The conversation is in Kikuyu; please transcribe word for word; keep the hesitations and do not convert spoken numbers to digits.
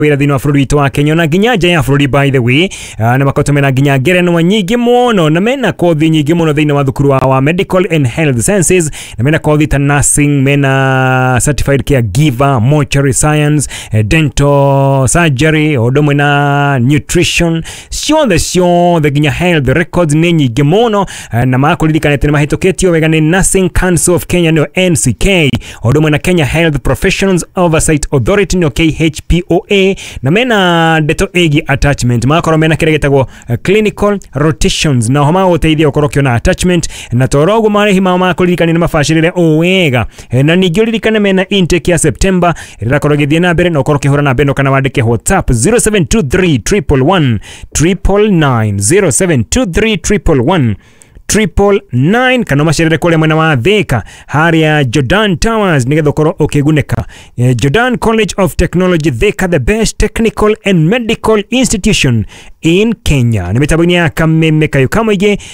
Wĩra thĩinĩ wa bũrũri witũ wa Kenya na nginya nja ya bũrũri. By the way, uh, na makoretwo mena nginya ngerenwa nyingĩ mũno na mena kothi nyingĩ mũno thĩinĩ wa thukuru wa, wa Medical and Health Sciences, na mena kothi ta nursing, mena certified caregiver, mortuary science, eh, dental surgery, o ũndũ ũmwe na nutrition, ciothe ciothe, nginya health records nĩ nyingĩ mũno. eh, na makũririkana atĩ nĩ mahĩtũkĩtio wega nĩ Nursing Council of Kenya, nĩyo N C K, o ũndũ ũmwe na Kenya Health Professions Oversight Authority, nĩyo K H P O A, na mena ndeto ĩgiĩ attachment, magakorwo mena kĩrĩa gĩtagwo eh, clinical rotations, na oho magũgũteithia ũkorwo ũkĩona attachment. Na toro ũguo marĩhi mao makũririkania nĩ mabacĩrĩre o wega. Eh, na ningĩ ũririkane mena intake ya September ĩrakorwo ĩgĩthiĩ na mbere, na ũkorwo ũkĩhũra namba ĩno kana wandĩke WhatsApp zero seven two three triple one triple nine, zero seven two three triple one triple nine, kana ũmacerere kũrĩa mwena wa Thika harĩa Jordan Towers nĩgetha ũkorwo ũkĩgunĩka. Eh, Jordan College of Technology Thika, the best technical and medical institution in Kenya. Nĩ mĩtambo-inĩ ya Kameme Kayo Kamũingĩ.